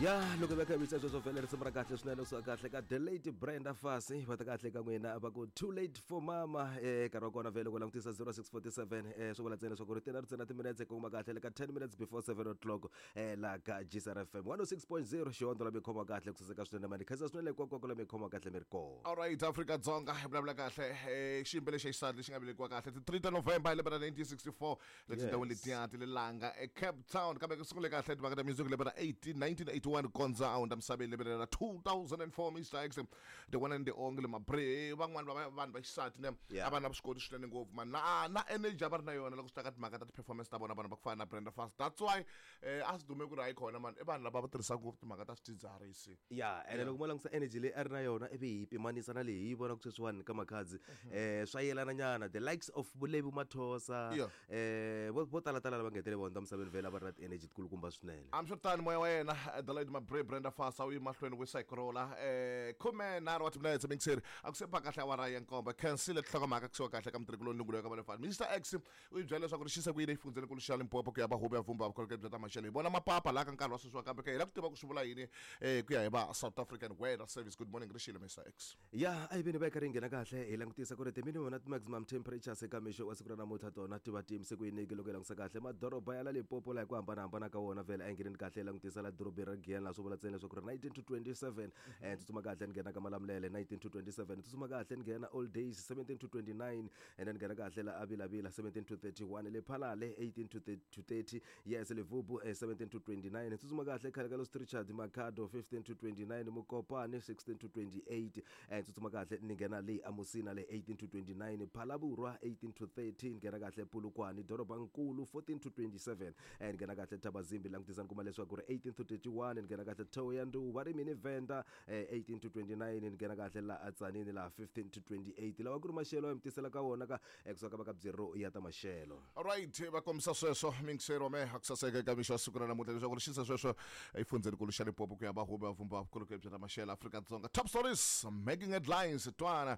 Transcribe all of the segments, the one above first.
Ya loko va khavisa sweswo vhele risimu ra kahle swinene kusuka kahle ka The Late Brenda Fassie, va ta kahle ka n'wina va ku "Too Late for Mama". Nkarhi wa kona vhele ku langutisa 0647, swi vula ntsena leswaku ri tena ri ntsena timinetse ku kuma kahle le ka 10 minutes before 7 o'clock, laha ka GCR FM 106.0, xihondzo la mi khoma kahle ku saseka swinene. Mani khensa swinene hinkwako la mi khoma kahle mi ri kona. Alright, Afrika Dzonga hi vulavula kahle, xiyimbeleri xa xisati lexi nga velekiwa kahle ti 3 ta November hi lembe ra 1964 le tindhawini letiya ti le Langa eCape Town, kambe ku sungule kahle timhaka ta music lembe ra 18 1981 kondza a hundza misaveni lembe ra 2004. Mr X, the one and the only Mabre. Van'wani va vanhu va xisati ne a va na vuswikoti swinene ngopfu man, na energy a va ri na yona loko swi ta ka timhaka ta ti-performance ta vona, vanhu va ku fana na Brenda Fassie. That's why a swi dume ku ri hayi khona man, i vanhu lava va tirhisaka ngopfu timhaka ta swidzidziharisi. Ya, ene loko mo langutisa energy leyi a ri na yona ivi hi pimanisa na leyi hi yi vonaka sweswiwani ka Makhadzi, swa yelana nyana, the likes of Vulevi Mathosa, vo tala tala lava nga hetele va hundza misaveni vhele a va ri na ti-energy tikulukumba swinene. Hambiswiritano, moya wa yena The Lady Mabre Brenda Fassie a wu yi mahlweni wu sayikrola. 13 wa timinetse mixeri a ku se ba kahle awara ya 7. Khensile tinhlokomhaka kusuka kahle ka mutirhikuloni lungulo ya ka valefani. Mr X u yi byela leswaku ri xise ku yini exifundzhenikulu xa Limpopo ku ya va huvo ya vumba vukorhokeri bya ta maxelo. Hi vona mapapa laha ka nkarhi wa sweswiwa, kambe ke hi lava ku tiva ku swi vula yini ku ya hi va South African Weather Service. Good morning, rixile Mr X. Ya, a hi veni va yi karhi yi nghena kahle, hi langutisa ku ri ti-minimum na ti-maximum temperatures eka mixo wa siku ra namuntlha tona ti va ti yimise ku yiniki. Loko hi langutisa kahle madoroba ya la Limpopo laha hi ku hambanahambana ka wona, vhele a hi ngheneni kahle hi langutisa la dorobeni ra Giyani, laha swi vula ntsena leswaku ri 19 to 27. Tsutsuma kahle ni nghena ka Malamulele, 19 to 27. Tsutsuma kahle ni nghena All Days, 17 to 29, and then nghena kahle la Avilavila, 17 to 31. Lephalale, 18 to 30, yes. Levubu, 17 to 29. Tsutsuma kahle khale ka Los Richard Makhado, 15 to 29. Mokopane, 16 to 28. Tsutsuma kahle ni nghena le aMusina le, 18 to 29. Phalaborwa, 18 to 30. Nghena kahle Polokwane dorobankulu, 14 to 27. Nghena kahle Thabazimbi, langutisa ni kuma leswaku ri 18 to 31. Nghena kahle Thohoyandou, va ri mini Venda, 18 to 29. Nghena kahle la aTsanini laha, 15 to 28. Lawa ku ri maxelo ya mi tisela ka wona ka kusuka ka va ka bureau ya ta maxelo. Alright, va kombisa sweswo mingisero me a ku saseka eka mixo wa siku ra namuntlha leswaku ri xisa sweswo exifundzhenikulu xa Limpopo ku ya va huvo ya vumba vukorhokeri bya ta maxelo Afrika-Dzonga. Top stories making headlines, twana,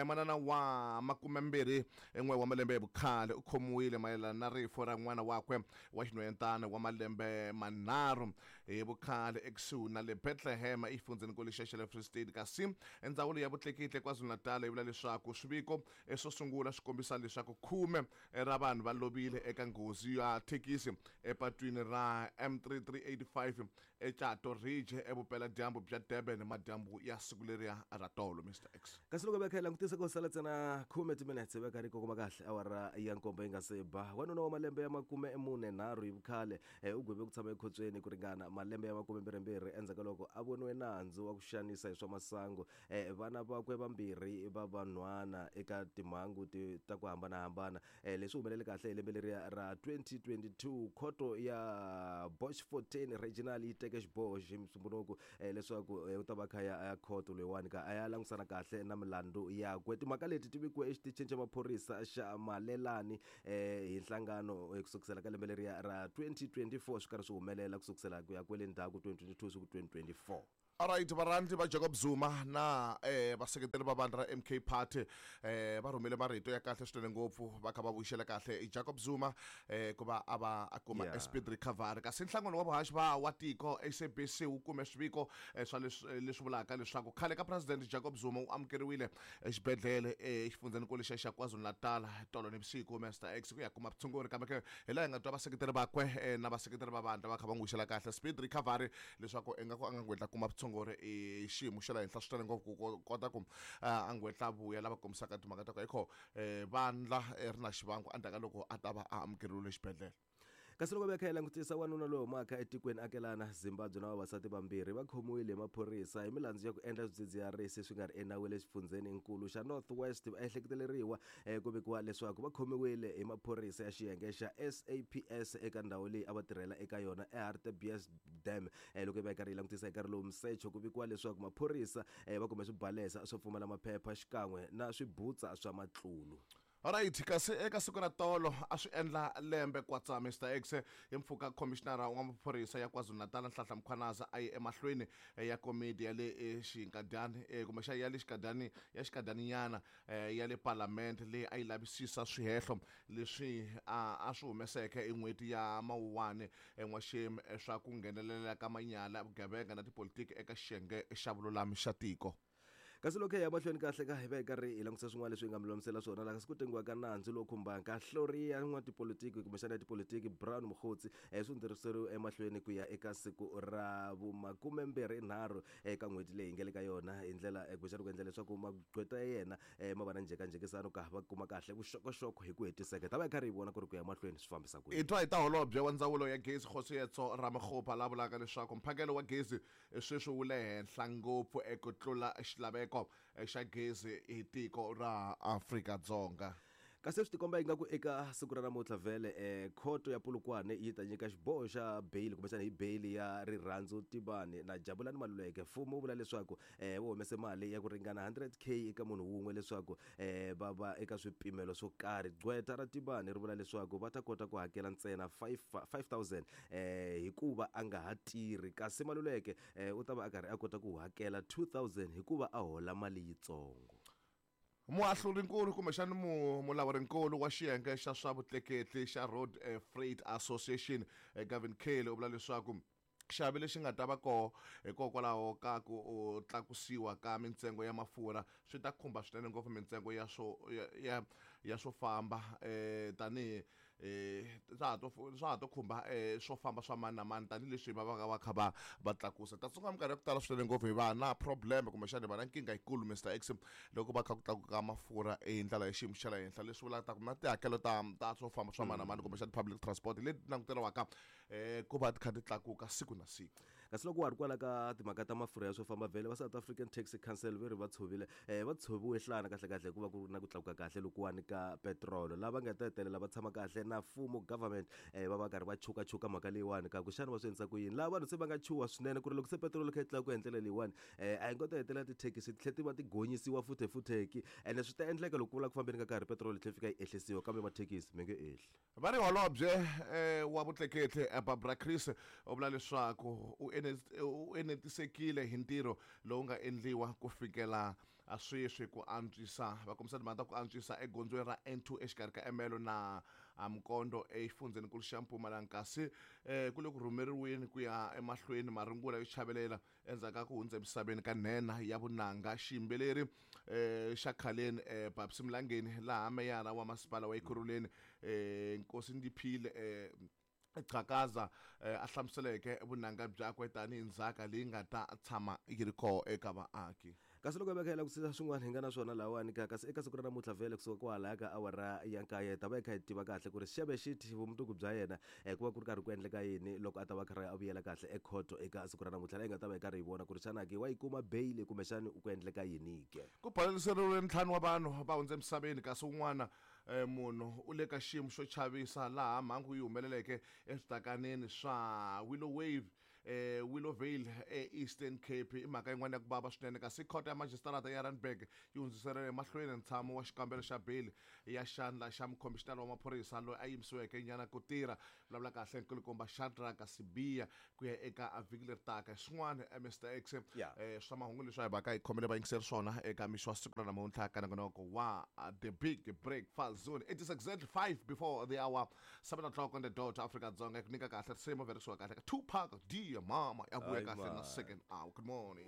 manana wa 21 wa malembe ya vukhale u khomiwile mayelana na rifu ra n'wana wakwe wa xinhwanyetana wa malembe 3 hi vukhale ekusuhi na le Bethlehem exifundzhenikulu xa le Free State. Kasi ndzawulo ya vutleketli KwaZulu-Natal yi vula leswaku swiviko swo sungula swi kombisa leswaku 10 ra vanhu va lovile eka nghozi ya thekisi epatwini ra M3385 eCato Ridge evupeladyambu bya Durban madyambu ya siku leriya ra tolo, Mr X. Kasi loko va kha hi langutisa ko sala ntsena 10 timinetse va karhi kokoma kahle awara ya 7 yi nga se ba, wanuna wa malembe ya 43 hi vukhale u gweve ku tshama ekhotsweni ku ringana malembe ya 22 endzhaku ka loko a voniwe nandzu wa ku xanisa hi swa masangu vana vakwe vambirhi va vanhwana eka timhangu ta ku hambanahambana. Leswi humelele kahle hi lembe leriya ra 2022. Khoto ya Boschfontein Regional yi teke xiboho xi Musumbhunuku leswaku u ta va kha ya ya khoto loyiwani ka a ya langusana kahle na milandzu yakwe. Timhaka leti ti vikiwe exitichini xa maphorisa xa Malelani hi nhlangano ku sukisela ka lembe leriya ra 2024, swi karhi swi humelela ku sukisela ku ya kwele ndzhaku 2022 swi ku 2024. Alright, varhandzi va Jacob Zuma na vaseketeri va vandla ra MK Party va rhumele marito ya kahle swinene ngopfu, va kha va vuyisela kahle Jacob Zuma ku va a va a kuma speed recovery. Kasi nhlangano wa vuhaxi va wa tiko SABC wu kume swiviko swa leswi vulaka leswaku khale ka President Jacob Zuma u amukeriwile exibedhlele exifundzhenikulu xa KwaZulu-Natal tolo nivusiku, Mr X, ku ya kuma vutshunguri. Kambe ke hi laha hi nga twa vaseketeri vakwe na vaseketeri va vandla va kha va n'wi wisela kahle speed recovery, leswaku ingaku a nga ngwetla kuma vutshunguri i xiyimo xa le henhla swinene ngopfu ku kota ku a ngwetla vuya lava kombisaka timhaka ta ku hikho vandla ri na xivangu endzhaku ka loko a ta va a amukeriwile exibedhlele. Kasi loko va kha hi langutisa wanuna loyi humaka etikweni akelana Zimbabwe na vavasati vambirhi va khomiwile hi maphorisa hi milandzu ya ku endla swidzidziharisi swi nga ri enawini exifundzheninkulu xa North West. Va ehleketeleriwa ku vikiwa leswaku va khomiwile hi maphorisa ya xiyenge xa SAPS eka ndhawu leyi a va tirhela eka yona eHartbeespoort Dam. Loko va karhi hi langutisa hi nkarhi lowu misecho, ku vikiwa leswaku maphorisa va kume swibalesa swo pfumala maphepha xikan'we na swibutsa swa matlulu. Alright, kasi eka siku ra tolo a swi endla lembe kwatsa Mr X hi mpfhuka khomishinara wa maphorisa ya KwaZulu-Natal Nhlanhla Mkhwanazi a ye emahlweni ya komiti ya le xinkadyani kumbexana ya le xikadyani ya xikadyaninyana ya le palamende leyi a yi lavisisa swihehlo leswi a swi humeseke hi n'hweti ya Mawuwani n'waxemu swa ku nghenelela ka manyala, vugevenga na tipolitiki eka xiyenge xa vululami xa tiko. Kasi loko hi ya mahlweni kahle ka hi va hi karhi hi langutisa swin'wana leswi hi nga mi lulamisela swona laha kasi ku tengiwa ka nandzu lowu khumbaka hlori ya n'watipolitiki kumbexana ya tipolitiki Brown Mogotsi swi hundziseriwe emahlweni ku ya eka siku ra vumakumembirhi-nharhu eka n'hweti leyi hi nga le ka yona hi ndlela kumbexana ku endla leswaku magqweta ya yena ma va na njhekanjhekisano ka va kuma kahle vuxokoxoko hi ku hetiseka. Hi ta va hi karhi hi vona ku ri ku ya mahlweni swi fambisa ku Hi yini. twa hi ta holobye wa ndzawulo ya gezi Kgosietso Ramokgopa la vulaka leswaku mphakelo wa gezi sweswi wu le henhla ngopfu ku tlula xilaveko xa gezi hi tiko ra Afrika-Dzonga. Kasi swi tikomba ingaku eka siku ra namuntlha vhele khoto ya Polokwane yi ta nyika xiboho xa beyili kumbexana hi beyili ya Rirhandzu Tibani na Jabulani Maluleke. Mfumo wu vula leswaku wu humese mali ya ku ringana 100K eka munhu wun'we leswaku va va eka swipimelo swo karhi. Gqweta ra Tibani ri vula leswaku va ta kota ku hakela ntsena 5000 hikuva a nga ha tirhi, kasi Maluleke u ta va a karhi a kota ku hakela 2000 hikuva a hola mali yitsongo. Muahlurinkulu kumbexana mulawurinkulu wa xiyenge xa swa vutleketli xa Road Freight Association Gavin Kelly u vula leswaku xiave lexi nga ta va koho hikokwalaho ka ku tlakusiwa ka mintsengo ya mafurha swi ta khumba swinene ngopfu mintsengo ya swo ya, ya, ya swo famba tanihi swa ha to khumba swo famba swa mani na mani tanihileswi va va va kha va va tlakusa. Ta tsundzuka minkarhi ya ku tala swinene ngopfu hi va na problem kumbexana hi va na nkingha yikulu Mr X loko va kha ku tlakuka mafurha hi ndlela ya xiyimo xa le henhla, leswi vulaka ku na tihakelo ta ta swo famba swa mani na mani kumbexana public transport leti languteriwaka ku va ti kha ti tlakuka siku na siku. Kasi loko wa ha ri kwala ka timhaka ta mafurha ya swo famba vhele va South African Taxi Council ve ri va tshovile va tshoviwe nhlana kahle kahle hikuva ku ri na ku tlakuka kahle lokuwani ka petirolo. Lava nga ta hetelela va tshama kahle na mfumo government va va karhi va chukachuka mhaka leyiwani ka ku xana va swi endlisa ku yini. Laha vanhu se va nga chuha swinene ku ri loko se petirolo kha yi tlakuka hi ndlela leyiwani a hi ngo ta hetelela tithekisi ti tlhela ti va ti gonyisiwa futhefutheki ene swi ta endleka loko ku vula ku fambeni ka nkarhi petirolo yi tlhela yi fika yi ehlisiwa kambe mathekisi mi nge ehli. Va ri holobye wa vutleketli Barbara Creecy u vula leswaku u enetisekile hi ntirho lowu nga endliwa ku fikela sweswi ku antswisa va kombisa timhaka ta ku antswisa egondzweni ra N2 exikarhi ka Ermelo na Mkondo exifundzheninkulu xa Mpumalanga, kasi ku le ku rhumeriweni ku ya emahlweni marungula yo chavelela endzhaku ka ku hundza emisaveni ka nhenha ya vunanga xiyimbeleri xa khaleni Babsy Mlangeni, laha meyara wa masipala wa Ekurhuleni Nkosi Ndiphile Xhakaza a hlamuseleke vunanga byakwe tanihi ndzhaka leyi nga ta tshama yi ri kona eka vaaki. Kasi loko hi va kha hi langutisa swin'wana hi nga na swona lahawani ka kasi eka siku ra namuntlha vhele kusuka kwalaya ka awara ya nkaye hi ta va hi kha hi tiva kahle ku ri Xebe Xiti vumundzuku bya yena ku va ku ri karhi ku endleka yini loko a ta va karhi a vuyela kahle ekhoto eka siku ra namuntlha laha hi nga ta va hi karhi hi vona ku ri xana ke wa yi kuma beyili kumbexani ku endleka yini ke. Ku baleliseriwile ntlhanu wa vanhu va hundze emisaveni kasi un'wana munhu u le ka xiyimo xo chavisa laha mhangu yi humeleleke eswitakaneni swa Willow Wave Willowvale eEastern Cape. I mhaka yin'wana ya ku vava swinene kasi khoto ya majisitarata ya Randburg yi hundziserile emahlweni ntshamo wa xikambelo xa beyili ya xandla xa mukhomishinara wa maphorisa loyi a yimisiweke nyana ku tirha vulavula kahle nkulukumba Shadrack Sibiya ku ya eka vhiki leri taka. Swin'wana Mr X swa mahungu leswi a hi vaka hi khomele vayingiseri swona eka mixo wa siku ra namuntlha ka nongonoko wa The Big Breakfast Zone. It is exactly 5 before the hour, 7 o'clock on the dot, Afrika Dzonga. Ku nyika kahle risimu verisiwa kahle ka Tupac Dear Mama ya vuya kahle na second hour. Good morning.